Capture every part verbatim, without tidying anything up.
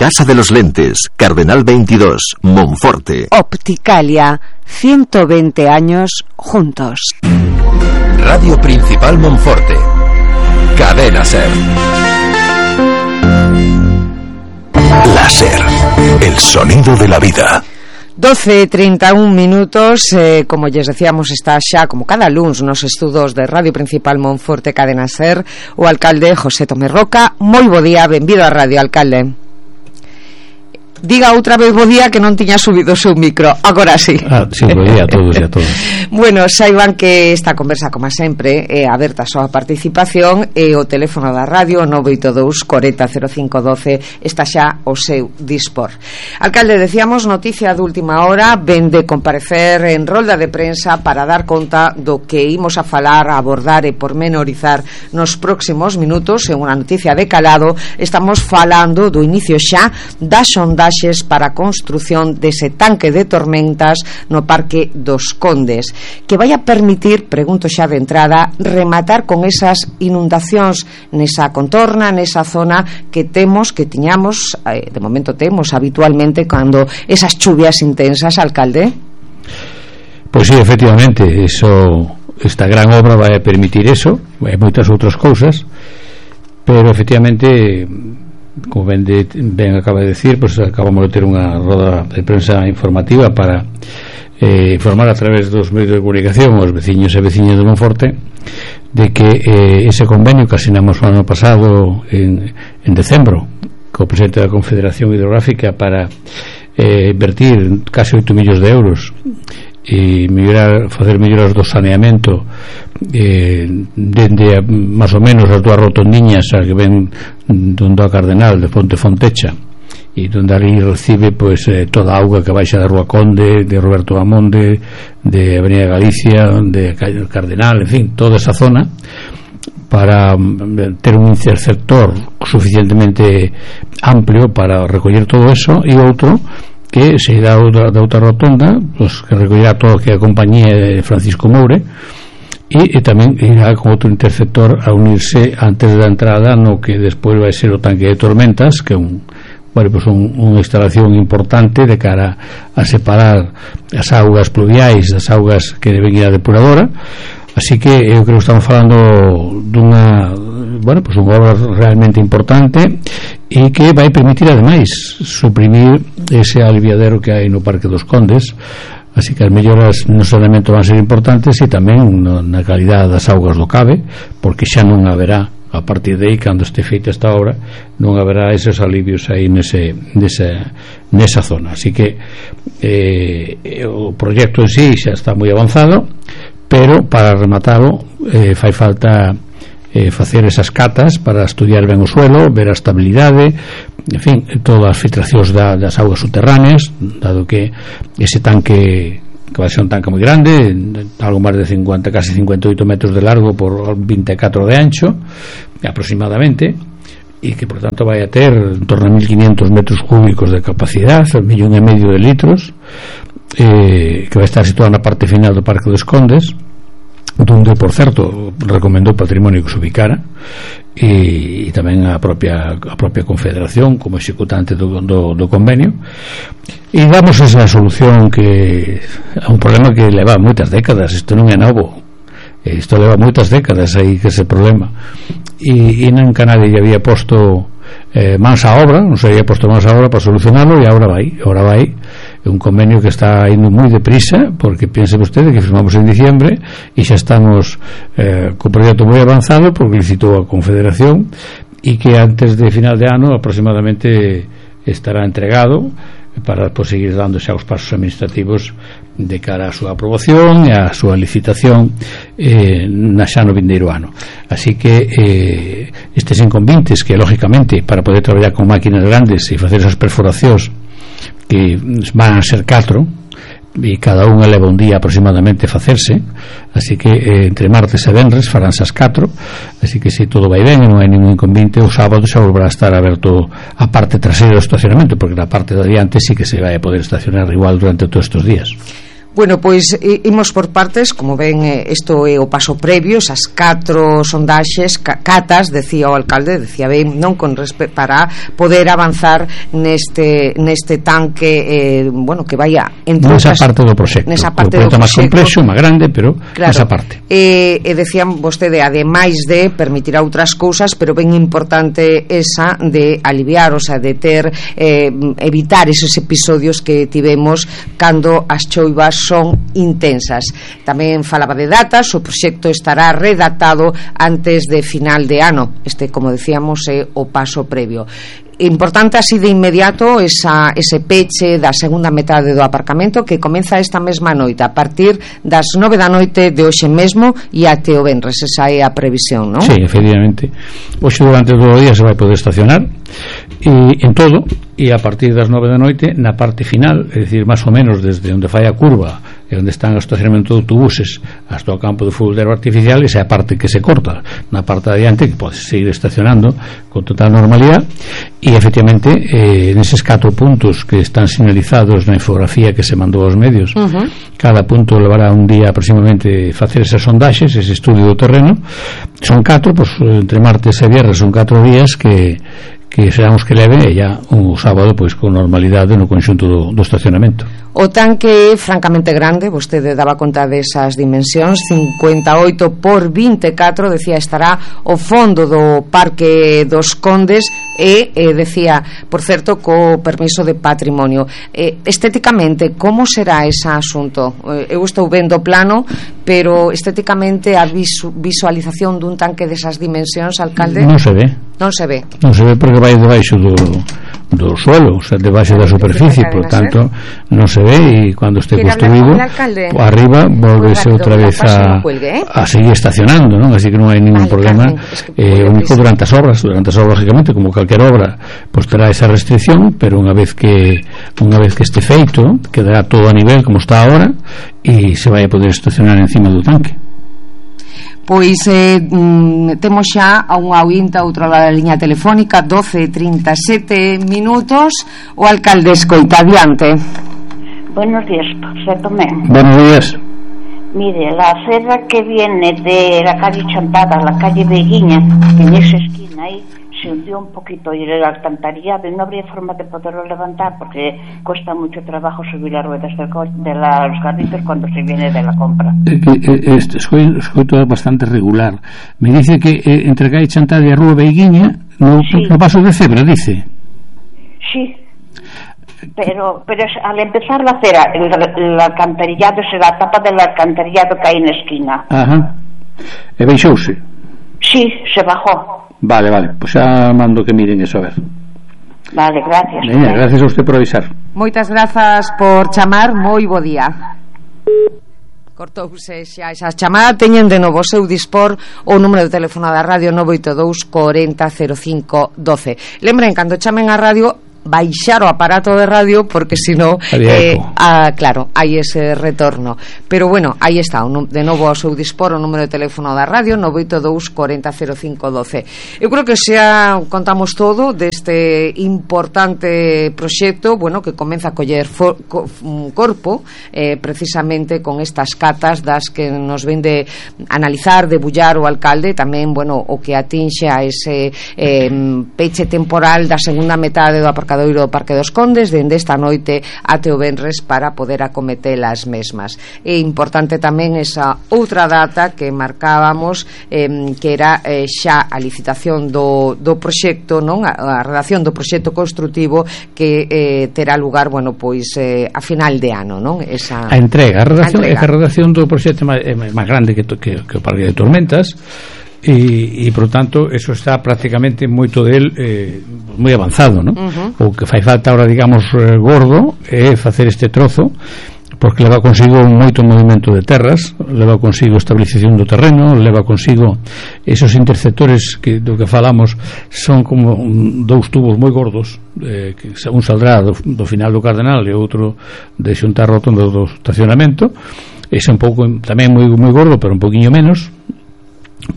Casa de los Lentes, Cardenal veintidós, Monforte. Opticalia, ciento veinte años juntos. Radio Principal Monforte. Cadena Ser. La Ser, el sonido de la vida. doce e trinta e un minutos, eh, como lles decíamos, está xa como cada luns nos estudos de Radio Principal Monforte Cadena Ser o alcalde José Tomé Roca. Moi bo día, benvido a radio, alcalde. Diga outra vez bo día, que non tiña subido o seu micro. Agora sí. Ah, sí, bo día a todos e a todas. Bueno, saiban que esta conversa, como sempre, é aberta a súa participación e o teléfono da radio nove oito dous, corenta, cero cinco, doce está xa o seu dispor. Alcalde, decíamos, noticia de última hora, ven de comparecer en rolda de prensa para dar conta do que imos a falar, a abordar e pormenorizar nos próximos minutos. En unha noticia de calado, estamos falando do inicio xa das sondaxes para a construción dese tanque de tormentas no Parque dos Condes, que vai a permitir, pregunto xa de entrada, rematar con esas inundacións nesa contorna, nesa zona que temos, que tiñamos, eh, de momento temos habitualmente cando esas chuvias intensas, alcalde. Pois sí, efectivamente, eso, esta gran obra vai a permitir eso, e moitas outras cousas, pero efectivamente, como ben, de, ben acaba de decir, pues acabamos de ter unha roda de prensa informativa para eh, informar a través dos medios de comunicación os veciños e veciñas de Monforte de que eh, ese convenio que asinamos o ano pasado en, en decembro co presidente da Confederación Hidrográfica para eh, invertir casi oito millóns de euros e mellorar, facer melloras do saneamento eh, dende máis ou menos as dúas rotondiñas a que ven donde a Cardenal de Fonte Fontecha e donde ali recibe pois, eh, toda a auga que baixa da Rúa Conde, de Roberto Amonde, de Avenida Galicia, de Cardenal, en fin, toda esa zona, para ter un interceptor suficientemente amplio para recoller todo eso, e outro que se dá da, da outra rotonda, pues, que recollirá todo que a compañía de Francisco Moure, e, e tamén irá con outro interceptor a unirse antes da entrada no que despois vai ser o tanque de tormentas, que é un, bueno, pues un, unha instalación importante de cara a separar as augas pluviais das augas que deben ir á depuradora. Así que eu creo que estamos falando dunha, bueno, pues unha obra realmente importante e que vai permitir ademais suprimir ese aliviadero que hai no Parque dos Condes. Así que as melloras no saneamento van ser importantes e tamén no, na calidade das augas do Cabe, porque xa non haberá, a partir de aí, cando este feita esta obra, non haberá esos alivios aí nese, nesa, nesa zona. Así que eh, o proxecto en sí xa está moi avanzado, pero para rematalo eh, fai falta eh, facer esas catas para estudiar ben o suelo, ver a estabilidade, en fin, todas as filtracións da, das augas subterráneas, dado que ese tanque, que vai ser un tanque moi grande, algo máis de cincuenta, casi cincuenta e oito metros de largo por vinte e catro de ancho aproximadamente, e que por tanto vai a ter en torno a mil quinientos metros cúbicos de capacidade, un millón e medio de litros, eh, que vai estar situado na parte final do Parque dos Condes, donde, por certo, recomendou Patrimonio que se ubicara, e, e tamén a propia, a propia Confederación como executante do, do, do convenio, e damos esa solución que a un problema que leva moitas décadas. Isto non é novo, isto leva moitas décadas aí que ese problema, e, e non que nadie había posto eh, mans a obra, non se había posto mans a obra para solucionarlo, e agora vai, agora vai. É un convenio que está indo moi deprisa, porque piense vostede que firmamos en diciembre e xa estamos eh, co proxecto moi avanzado, porque licitou a Confederación, e que antes de final de ano aproximadamente estará entregado para pues, seguir dando xa os pasos administrativos de cara á súa aprobación e á súa licitación eh, na xa no vindeiro ano. Así que eh, estes inconvenientes que lógicamente para poder traballar con máquinas grandes e facer esas perforacións que van a ser catro e cada unha leva un día aproximadamente facerse, así que eh, entre martes e venres faránse as catro, así que se todo vai ben e non hai ningún inconveniente, o sábado xa volverá a estar aberto a parte traseira do estacionamento, porque na parte de adiante sí que se vai a poder estacionar igual durante todos estes días. Bueno, pois imos por partes. Como ven, isto é o paso previo, esas catro sondaxes, catas, decía o alcalde, decía ben, non, con respeto, para poder avanzar neste neste tanque, eh, bueno, que vaya entre nesa outras, parte do proxecto, nesa parte o do máis complexo, máis grande, pero claro, nesa parte. E, e decían vostede, ademais de permitir outras cousas, pero ben importante esa de aliviar, o sea, de ter eh, evitar esos episodios que tivemos cando as choivas son intensas. Tamén falaba de datas, o proxecto estará redactado antes de final de ano. Este, como decíamos, é o paso previo. Importante así de inmediato esa, ese peche da segunda metade do aparcamento, que comeza esta mesma noite a partir das nove da noite de hoxe mesmo e até o venres. Esa é a previsión, non? Sí, efectivamente. Hoxe durante todo o día se vai poder estacionar e en todo, e a partir das nove da noite na parte final, é dicir, máis ou menos desde onde fai a curva e onde están o estacionamento de autobuses hasta o campo de fútbol de erva artificial, esa é a parte que se corta. Na parte de adiante que pode seguir estacionando con total normalidade. E efectivamente eh, neses catro puntos que están sinalizados na infografía que se mandou aos medios, uh-huh. cada punto levará un día aproximadamente facer esas sondaxes, ese estudio do terreno. Son catro, pues, entre martes e viernes son catro días que que serán os que leve, e ya o sábado pois con normalidade no conxunto do, do estacionamento. O tanque é francamente grande, vostede daba conta desas dimensións, cincuenta e oito por vinte e catro, decía, estará o fondo do Parque dos Condes e, e decía, por certo, co permiso de patrimonio. Eh, estéticamente, como será ese asunto? Eh, eu estou vendo o plano, pero estéticamente a visu, visualización dun tanque desas dimensións, alcalde? Non se ve. Non se ve. Non se ve porque vai debaixo do, do suelo, o sea, debaixo da superficie, por tanto non se ve, e cando este construído arriba volvese outra vez a, a seguir estacionando, non? Así que non hai ningún problema. Eh, único durante as obras, durante as obras, lógicamente, como calquer obra, pues terá esa restricción, pero unha vez que unha vez que este feito, quedará todo a nivel como está ahora e se vai a poder estacionar encima do tanque. Pois eh, mm, temos xa a unha oínta outra lado da liña telefónica, doce e trinta e sete minutos. O alcalde escoita, adiante. Buenos días, José Tomé. Buenos días. Mire, la acera que viene de la calle Chantada a la calle Beguiña, en esa esquina ahí, se hundió un poquito y el alcantarillado, y no habría forma de poderlo levantar porque cuesta mucho trabajo subir las ruedas del co- de la, los carritos cuando se viene de la compra. Eh, eh, este, soy, soy todo bastante regular. Me dice que eh, entre calle Chantada y a Rúa Beguiña no, sí. no paso de cebra, dice. Sí. Pero, pero es, al empezar la acera, el, el alcantarillado es la tapa del alcantarillado que hay en la esquina. Ajá. E baixouse? Sí, se bajó. Vale, vale, pues xa mando que miren eso, a ver. Vale, gracias. Veña, gracias a usted por avisar. Moitas grazas por chamar, moi bo día. Cortouse xa esa chamada. Teñen de novo o seu dispor o número de teléfono da radio nove oito dous corenta cero cinco doce. Lembren, cando chamen a radio, baixar o aparato de radio porque senón eh, ah, claro, hai ese retorno, pero bueno, aí está de novo ao seu dispor o número de teléfono da radio nove oito dous corenta cero cinco doce. Eu creo que xa contamos todo deste importante proxecto, bueno, que comeza a coller for, co, corpo eh, precisamente con estas catas das que nos ven de analizar, debullar o alcalde, tamén, bueno, o que atinxe a ese eh, peche temporal da segunda metade do aparcamento do Parque dos Condes dende esta noite até o venres para poder acometer as mesmas. É importante tamén esa outra data que marcábamos, eh, que era eh, xa a licitación do, do proxecto, non? A, a redacción do proxecto construtivo que eh, terá lugar, bueno, pois eh, a final de ano, non? Esa a entrega, a redacción, a, entrega. a redacción do proxecto é máis grande que, que, que o Parque de Tormentas. E, e por tanto eso está prácticamente moito del eh, moi avanzado, non? Uh-huh. O que fai falta ahora, digamos, eh, gordo é facer este trozo, porque leva consigo moito movimento de terras, leva consigo estabilización do terreno, leva consigo esos interceptores que do que falamos son como un, dous tubos moi gordos, eh, que un saldrá do, do final do Cardenal e outro de xuntar rotondo do estacionamento. Ese un pouco tamén moi moi gordo, pero un poquinho menos,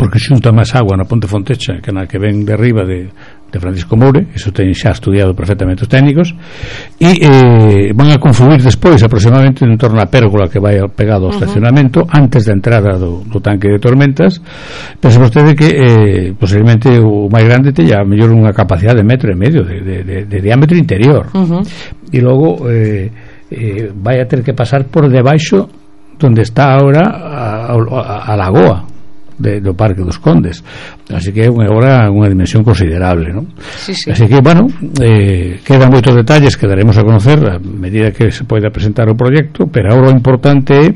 porque xunta máis agua na Ponte Fontecha que na que ven de arriba de, de Francisco Moure, eso ten xa estudiado perfectamente os técnicos, e eh, van a confluir despois aproximadamente en torno a pérgola que vai pegado ao uh-huh. estacionamento antes da entrada do, do tanque de tormentas. Pensa vostede que eh, posiblemente o máis grande teña a mellor unha capacidade de metro e medio de, de, de, de diámetro interior, uh-huh. e logo eh, eh, vai a ter que pasar por debaixo donde está ahora a, a, a lagoa De, do Parque dos Condes, así que é unha obra, unha dimensión considerable, ¿no? Sí, sí. Así que, bueno, eh, quedan moitos detalles que daremos a conocer a medida que se poida presentar o proxecto, pero agora o importante é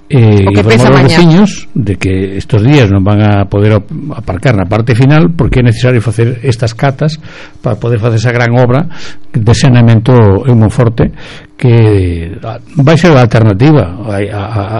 eh, informar aos veciños de que estos días non van a poder aparcar na parte final porque é necesario facer estas catas para poder facer esa gran obra de saneamento en Monforte, que vai ser a alternativa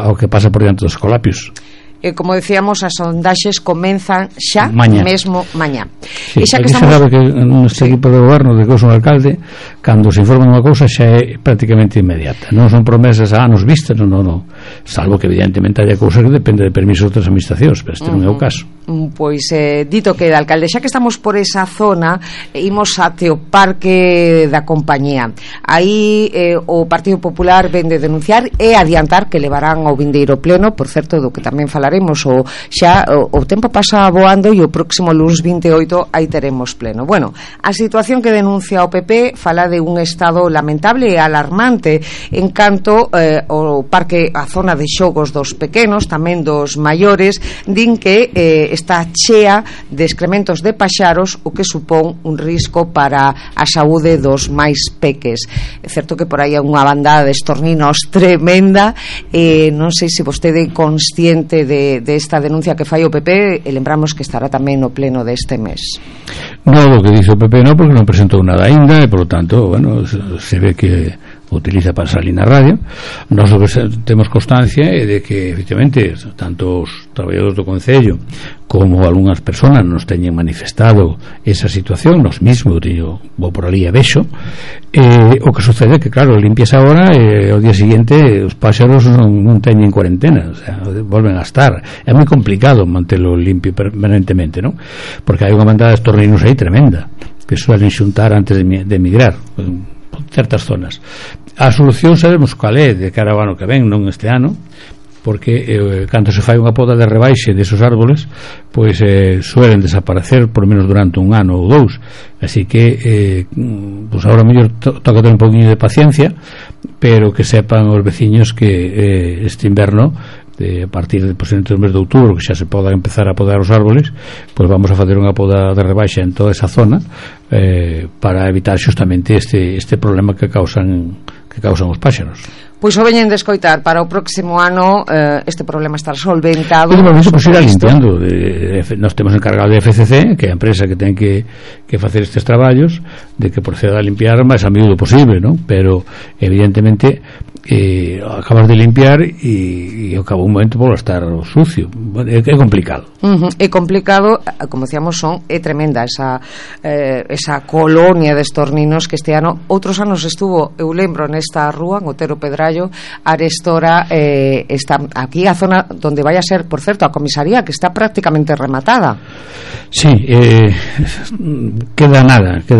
ao que pasa por diante dos Escolapios. E como decíamos, as sondaxes comenzan xa maña. mesmo mañá. Sí, e xa que estamos... sabe que neste sí. equipo de goberno de que eu son alcalde, cando se informa unha cousa xa é prácticamente inmediata, non son promesas a anos vistas, non, non, non. Salvo que evidentemente haya cousas que depende de permiso de outras administracións, pero este uh-huh. non é o caso. Pois eh, dito que, alcalde, xa que estamos por esa zona, imos até o Parque da Compañía. Aí eh, o Partido Popular ven de denunciar e adiantar que levarán ao vindeiro pleno, por certo, do que tamén falaremos o xa o, o tempo pasa voando e o próximo luns vinte e oito aí teremos pleno. Bueno, a situación que denuncia o P P fala de un estado lamentable e alarmante en canto eh, o parque, a zona de xogos dos pequenos, tamén dos maiores, din que eh, está chea de excrementos de paxaros, o que supón un risco para a saúde dos máis peques. É certo que por aí é unha bandada de estorninos tremenda, eh, non sei se vostede é consciente de De, de esta denuncia que fai o P P, e lembramos que estará tamén no pleno deste mes. No, lo que dice o P P no, porque non presentou nada ainda, e por lo tanto, bueno, se ve que utiliza para salir na radio. Nós o que temos constancia é de que efectivamente tanto os traballadores do Concello como algunhas persoas nos teñen manifestado esa situación, nos mismos yo vou por ali e vexo, eh, o que sucede é que claro, limpias agora e ao día seguinte os páxaros non, non teñen cuarentena, o sea, volven a estar. É moi complicado mantelo limpio permanentemente, ¿no? Porque hai unha bandada de estorninos aí tremenda que suelen xuntar antes de, de emigrar en certas zonas. A solución sabemos cal é de cara ao ano que ven, non este ano, porque eh, cando se fai unha poda de rebaixe desos árboles, pois eh, suelen desaparecer por menos durante un ano ou dous, así que eh, pois agora mellor to toca ter un poquinho de paciencia, pero que sepan os veciños que eh, este inverno, de, a partir de posiblemente do mes de outubro, que xa se poda empezar a podar os árboles, pois vamos a facer unha poda de rebaixa en toda esa zona, eh, para evitar xustamente este, este problema que causan que causan os páxaros. Pois o veñen de escoitar, para o próximo ano eh, este problema estar solventado. Pero bueno, pues irá limpiando. De, de, nos temos encargado de F C C, que é a empresa que ten que, que facer estes traballos, de que proceda a limpiar máis a miúdo posible, ¿no? Pero evidentemente eh, acabas de limpiar e, e ao cabo un momento por estar sucio. É, é complicado. Uh-huh. É complicado, como decíamos, son é tremenda esa eh, esa colonia de estorninos que este ano, outros anos estuvo, eu lembro, nesta rúa, en Otero Pedrallo, arestora eh, está aquí a zona donde vai a ser, por certo, a comisaría, que está prácticamente rematada. Sí, eh, queda nada, queda